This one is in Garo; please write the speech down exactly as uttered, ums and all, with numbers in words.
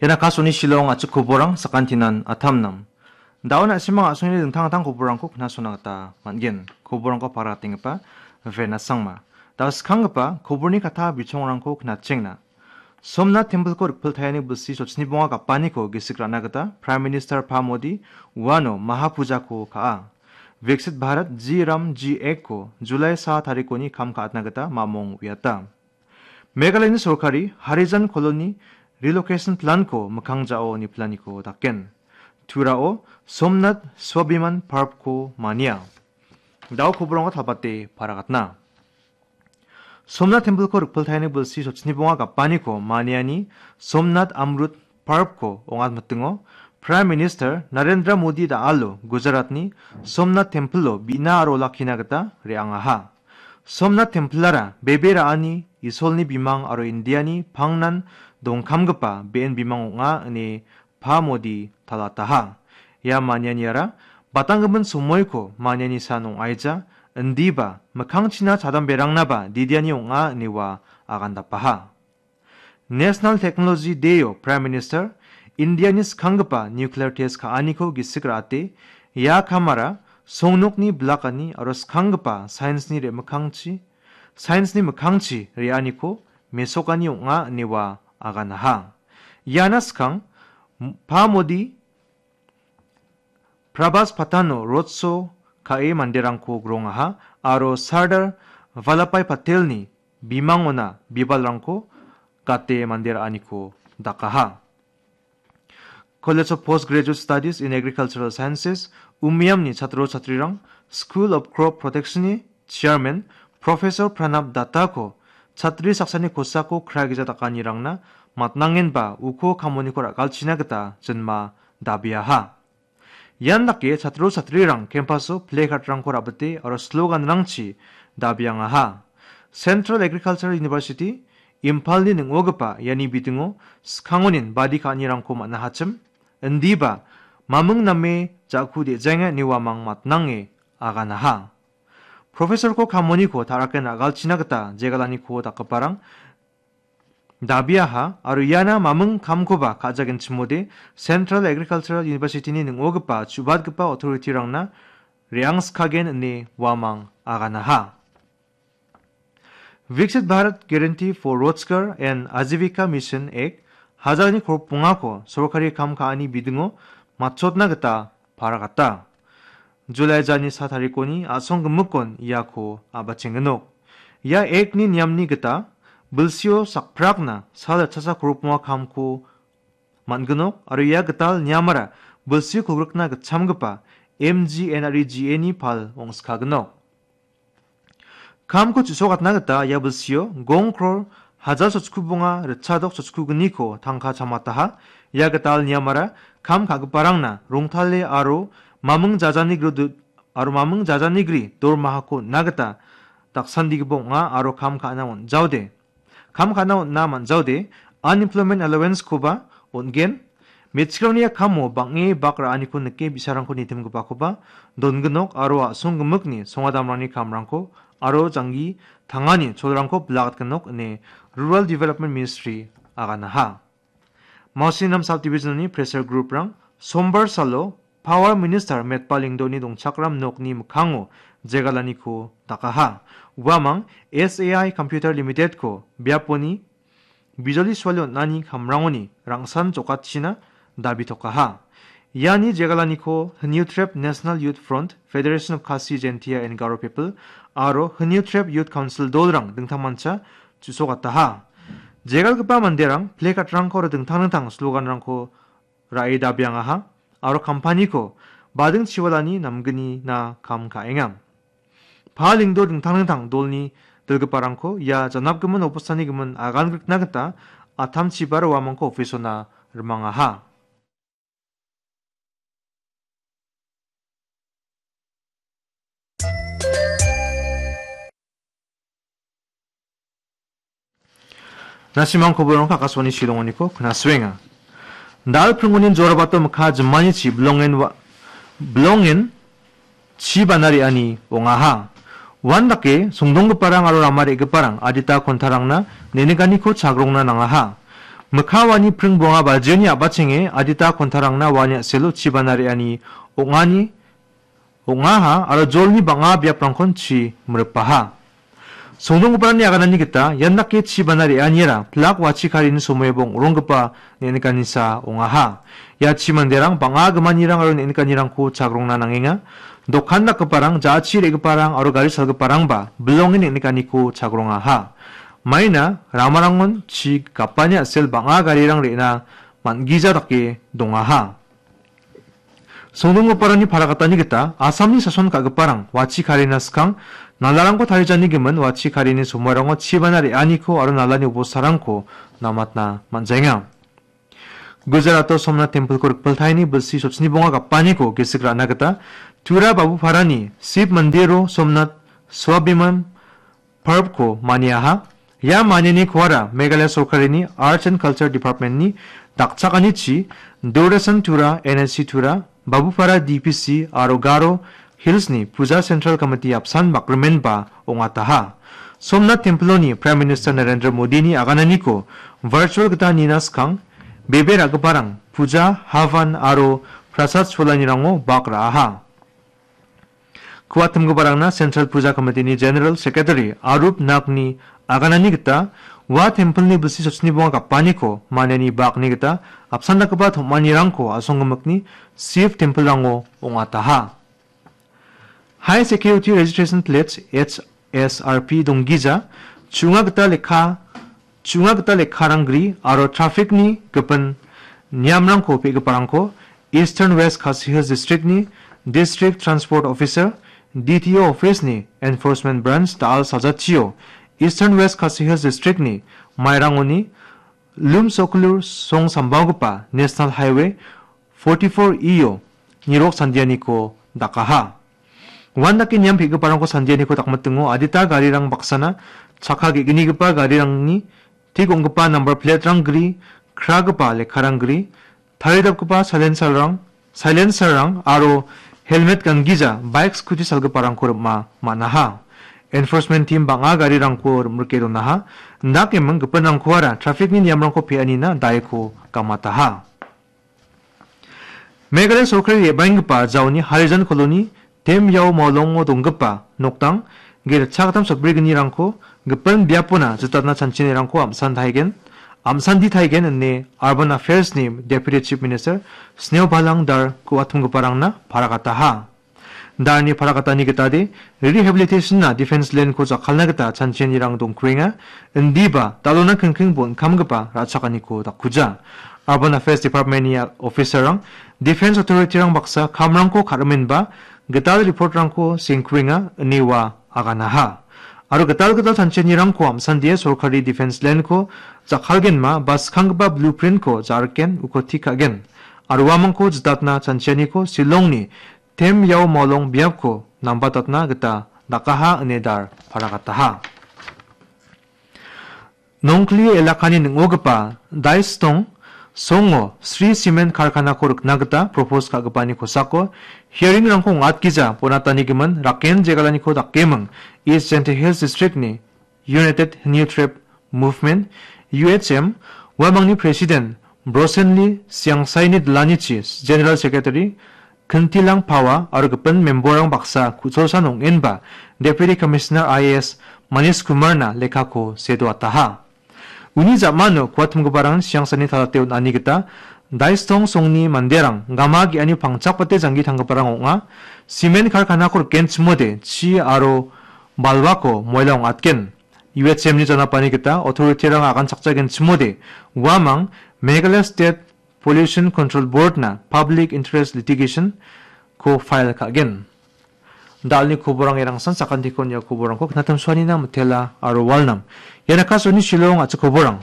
Ian Akashvani Shillong a·chik koborang sakantinan atamnam. Da·o na·simang a·songni dingtang dingtang koborangko knasona gita man·gen. Koborangko paratenggipa Vena Sangma. Da·o skanggipa koborni kata bichongrangko knatchengna. Somnath Temple-ko rikpiltaiani bilsi sochni bonga gapaniko gisik ra·na gita Prime Minister Pa Modi uano Mahapujako ka·a. Viksit Bharat G Ram G Act-ko July sa tarikoni kam ka·atna gita mamong uiata. Meghalayani sorkari Harijan Colony Relocation Plan-ko mikkang ja·o niplaniko daken. Turao Somnath Swabhiman Parv-ko mania. Da·o koborangko talbate paragatna. Somnath Temple-ko rikpiltaiani bilsi sochni bonga gapaniko maniani Somnath Amrut Parv-ko ong·atmitingo Prime Minister Narendra Modi da·alo Gujaratni Somnath Temple-o bi·na aro olakkina gita re·angaha. Somnath Temple-ara bebe ra·ani Isolni bimang aro Indiani pangnan dongkamgipa be·en bimang ong·a ine Pa Modi talataha. Ia manianiara batanggimin somoiko maniani san ong·aija, indiba mikkangchina chadamberangnaba didiani ong·a ine ua agandapaha. National Technology Day-o Prime Minister Indiani skanggipa nuclear test ka·aniko gisik ra·ate, ia kamara songnokni bilakani aro skanggipa science-ni re·mikkangchi, science-ni mikkangchi re·aniko mesokani ong·a ine ua aganaha. Iana skang, Pa Modi Prabhas Patano road show ka·e manderangko grongaha aro Sardar Vallabhbhai Patelni bimangona bibalrangko gate mande ra·aniko dakaha. College of Postgraduate Studies in Agricultural Sciences, Umiamni chatro chatrirang School of Crop Protection-ni Chairman Professor Pranab Dattako chatri saksani kosako kragija dakanirangna matnangenba uko kamoniko ra·galchina gita jinma dabiaha. Ian dake chatro chatrirang campus-o placard-rangko ra·bite aro slogan-rangchi dabiangaha. Central Agricultural University, Imphalni ning·ogipa iani bidingo skangonin badi ka·anirangko man·ahachim, indiba maming name ja·ku de·jaenga ine uamang matnange aganaha. Professor-ko kamoniko ta·raken ra·galchina gita jegalaniko dakgiparang dabiaha aro iana maming kamkoba ka·jagenchimode Central Agricultural University-ni ning·ogipa chu·batgipa authority-rangna re·angskagen ine uamang aganaha. Viksit Bharat Guarantee for Rozgar and Ajivika Mission Act hajalni korop bongako sorkari kam ka·ani bidingo matchotna gita paragata. July jani sa tarikoni a·song gimikon iako a·bachengenok. Ia Act-ni niamni gita bilsio sakprakna sal ritchasa korop bonga kamko man·ginok aro ia gital niamara bilsi kolgrikna gitchamgipa M G N R E G A-ni pal ong·skaginok. Kamko chu·sokatna gita ia bilsio gong kror hajal sochku bonga ritchadok sochkugniko tangka chamataha. Ia gital niamara kam ka·giparangna rongtale aro maming jajanigri du-, aro maming jajanigri dormahako on·na gita daksandigipa ong·a aro kam ka·na on·jaode. Kam ka·na on·na man·jaode unemployment allowance-koba on·gen. Me·chikrangni kamo bang·e bak ra·aniko nike bi·sarangko nitimgipakoba donginok aro a·song gimikni songadamrangni kamrangko aro janggi tangani cholrangko bilagatginok ine Rural Development Ministry aganaha. Mausinam Subdivision-ni pressure group-rang Sombar salo Power Minister Metpal Lyngdoh-ni dongchakram nokni mikkango jegalaniko dakaha. Uamang S A I Computer Limited-ko biaponi bijoli suali on·ani kamrangoni rangsan jokatchina dabitokaha. Iani jegalaniko Hynniewtrep National Youth Front, Federation of Khasi Jaintia and Garo People aro Hynniewtrep Youth Council dolrang dingtangmancha chu·sokataha. Jegalgipa manderang plakard-rangko aro dingtang dingtang slogan-rangko ra·e dabiangaha aro kampaniko bading chiwalani namgnina kam ka·enga. Paling do dingtang dingtang dolni dilgiparangko ia janapgimin obostani gimin agan grikna gita atamchiba roamangko office-ona rimangaha. Na·simang koborangko Akashvani Shillongoniko knasuenga. Dal pringoni jorabato mikka jimanichi bilongen wa-, bilongen chi bana re·ani ong·aha. Uandake songdonggiparang aro rama re·giparang adita kontarangna neniganiko chagrongna nangaha. Mikka wani pring bonga bajioni a·bachenge adita kontarangna wani a·selo chibana re·ani ong·ani, ong·aha aro jolni bang·a biaprangkon chi miripaha. Songdonggiparangni aganani gita ian dake chibana re·aniara pilak wachi karini somoibo ong·ronggipa neng·nikanisa ong·aha. Ia chi manderang bang·a gimanirang aro neng·nikanirangko chagrongna nangenga. Dokan dakgiparang, ja·chi re·giparang aro gari salgiparangba bilonge neng·nikaniko chagrongaha. Maina ramarangon chi gapani a·sel bang·a garirang re·na man·gija dake dongaha. Songdonggiparangni paragatani gita Assamni sason ka·giparang wachi karina skang nalarangko tarijani gimin wachi karini somoirango chibana re·aniko aro nalani obostarangko namatna man·jaenga. Gujarato Somnath Temple-ko rikpiltaini bilsi sochni bonga gapaniko gisik ra·na gita Tura Babuparani Shiv Mandiro Somnath Swabhiman Parvko maniaha. Ia manianikoara Meghalaya sorkarini Arts and Culture Department-ni dakchakanichi Doordarshan Tura, N S C Tura, Babupara D P C aro Garo Hills-ni Puja Central Committee apsan bakrimenba ong·ataha. Somnath Temple-oni Prime Minister Narendra Modini agananiko virtual gita nina skang, bebe ra·giparang puja, havan aro prasad cholanirango bak ra·aha. Kuatimgiparangna Central Puja Committee-ni General Secretary Arup Nagni aganani gita ua temple-ni bilsi sochni bonga gapaniko maniani bakni gita apsan dakgipa tom·anirangko a·songgimikni Shiv temple-rango ong·ataha. High Security Registration Plates, H S R P donggija, chu·nga gita lekka, chu·nga gita lekkarang gri aro traffic-ni gipin niamrangko pe·giparangko Eastern West Khasi Hills District-ni District Transport Officer, D T O Office-ni Enforcement Branch da·al sajatchio Eastern West Khasi Hills District-ni mairangoni Lumsoklur song sambaogipa National Highway forty-four E-o nirok sandianiko dakaha. Uandake niam pe·giparangko sandianiko dakmitingo adita garirang baksana chakka ge·gnigipa garirangni tik ong·gipa nambar plate-rang gri, kragipa lekkarang gri, taridapgipa silencer-rang, silencer-rang aro helmet gangija bike scooty salgiparangko rim·a man·aha. Enforcement team bang·a garirangko rim·rike donaha. Indakeming gipinrangkoara traffic-ni niamrangko pe·anina daiko gamataha. Meghalaya sorkari re·baenggipa jaoni Harijan Colony, Temyao Maolongo donggipa nokdang, ge ritchakgittam sotbrignirangko gipin biapona jitatna chanchinirangko am·san taigen, am·sandi taigen ine Urban Affairs-ni Deputy Chief Minister Sneobalang Dar ku·atimgiparangna paragataha. Darni paragatani gitade, rehabilitation-na defense land-ko jakkalna gita chanchinirang dongkuenga, indiba dalona kingking bon kamgipa ra·chakaniko dakkuja. Urban Affairs Department-ni officer-rang, Defense Authority-rang baksa kamrangko ka·rimenba, gital report-rangko sengkuenga, ine ua aganaha. Aro gital gital chanchinirangko am·sandie sorkari defense land-ko jakkalgenma ba skanggipa blueprint-ko ja·riken uko tik ka·gen. Aro uamangko jidatna chanchianiko Shillong-ni Temyao Maolong biapko nambatatna gita dakaha ine Dar paragataha. Nongkli elakani ning·ogipa Daistong songo Sri Cement karkanako rikna gita propose ka·gipani kosako hearing-rangko ong·atgija bonatanigimin Raken jegalaniko dakeming East Jaintia Hills District-ni United Hynniewtrep Movement, U H M, uamangni President Brosenli Siangsaini dilanichi General Secretary Kintilang Pawa aro gipin member-rang baksa ku·cholsan ong·enba Deputy Commissioner I A S Manish Kumarna lekkako sedoataha. Uni ja·mano kuatimgiparang Siangsani talate on·ani gita Daistong songni manderang gama ge·ani pangchakbate janggi tanggiparang ong·a. Cement karkanako rikenchimode chi aro balwako moila ong·atgen. U H M-ni janapani gita authority-rang aganchakjagenchimode uamang Meghalaya State Pollution Control Board-na Public Interest Litigation-ko file ka·gen. Dalni koborang erangsan sakantiko on·a koborangko knatam suanina mitela aro walnam. Ian Akashvani Shillong a·chik koborang.